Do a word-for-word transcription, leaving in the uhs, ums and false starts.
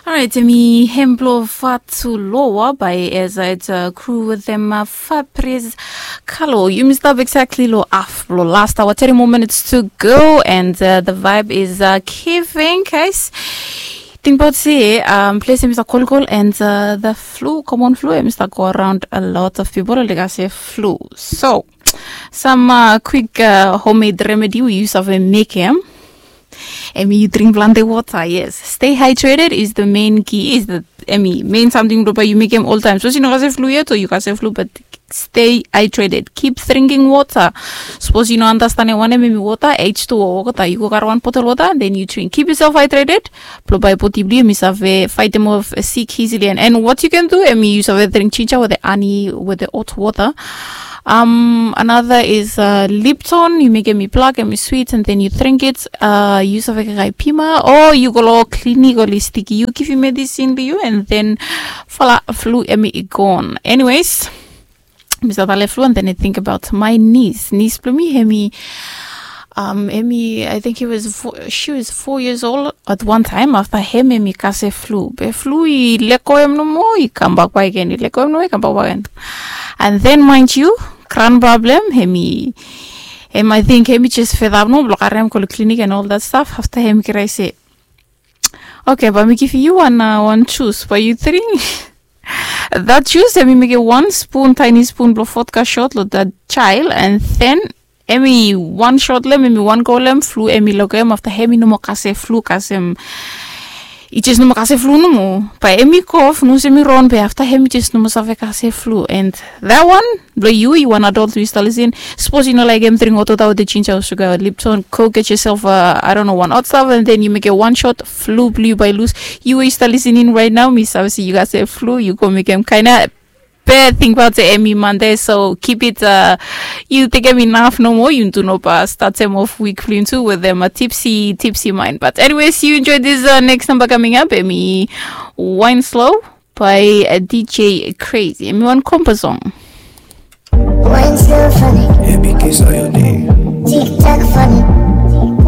Alright, emi hem blong Fatu Loa by Ezra. It's a crew with them, uh, Fabris Kalo. Yumi stap exactly lo af lo last hour, thirty more minutes to go, and uh, the vibe is uh, giving, guys. Tingbaot se um, ples emi stap kolkol, and uh, the flu, common flu, emi stap go around a lot of people, like I say, flu. So, some uh, quick uh, homemade remedy we use of a make him. Emi, yu dring plante wota, yes. Stay hydrated is the main key, is the, emi, main samting blong bae yu mekem oltaem. Sapos yu no kasem flu yet o yu kasem flu, but stay hydrated. Keep drinking water. Sapos yu no andastanem wanem emi wota, H two O wota, yu go karem wan botel wota, then yu dring. Keep yourself hydrated. Blong bae bodi blong yu emi save faetem of sick easily. And, and what you can do, emi, yu save dring jinja wetem ani wetem hot wota. Um, another is uh, Lipton. Yu mekem i blak, emi swit, and then yu dring it. Uh, yu save kaikai pima o yu go lo klinik oli stiki yu, givim medisin blong yu, and then voila, flu emi i gon. Anyways, mi stap talem flu, and then I think about my niece. Niece blong mi, emi, um, emi, I think he was four, she was four years old at one time. Afta hem emi kasem flu, be flu i legoem nomo, i kambak bakegen, i legoem nomo, i kambak bakegen. And then, mind you, kranba blong hem, emi, hem, I think emi jes fed up nomo blong karem go lo klinik and all that stuff. Afta emi krai se, okay, bae mi givim yu wan, uh, wan jus, bae yu dring that jus, emi mekem wan spun, tiny spun blong vodka shot lo that child, and then emi wan shot long hem, emi wan go long hem, flu emi legoem. Afta emi nomo kasem flu, kasem, i jes nomo kasem flu nomo. Bae emi kof, nos emi ron, be afta emi jes nomo save kasem flu. And that one, blong yu, yu wan adult, yu stap lisin. Sapos yu no laekem dring hot wota wetem jinja o suga, Lipton, go get yourself a, I don't know, wan hot stuff, and then yu mekem wan shot, flu blong yu bae lus. Yu we yu stap lisin right now, mi save se yu kasem flu, yu go mekem kaena bad thing about the emi Monday. So keep it, uh, yu tekem inaf nomo, yu tu no bae statem of wik blong yu tu wetem a tipsy, tipsy mind. But anyways, you enjoy this uh, next number coming up, emi Wine Slow by uh, D J Crazy. Emi wan kompa song. Wine slow for me. Epic is on your name. Tick tock for me.